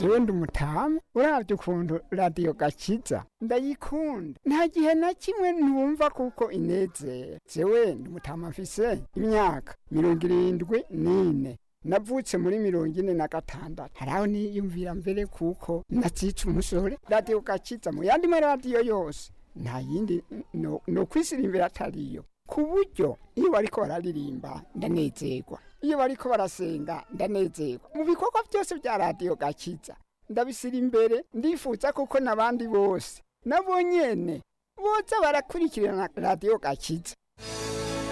Jewe ndi umutamu, uravye ukuntu Radiyo Gakiza ndayikunda, nta gihe na kimwe ntumva kuko inezera. Jewe ndi umutama, mfise imyaka 74, navutse muri 46. Haraho niyumvira mbere kuko nacica umusore. Radiyo Gakiza mu yandi maradiyo yose nta yindi no kwisirimbira atariyo, ku buryo iyo bariko bararirimba ndanezerwa, iyo bariko barasenga ndanezerwa. Mu bikorwa byose bya Radiyo Gakiza ndabisira imbere, ndifuza kuko n'abandi bose nabo nyene boza barakurikirana Radiyo Gakiza.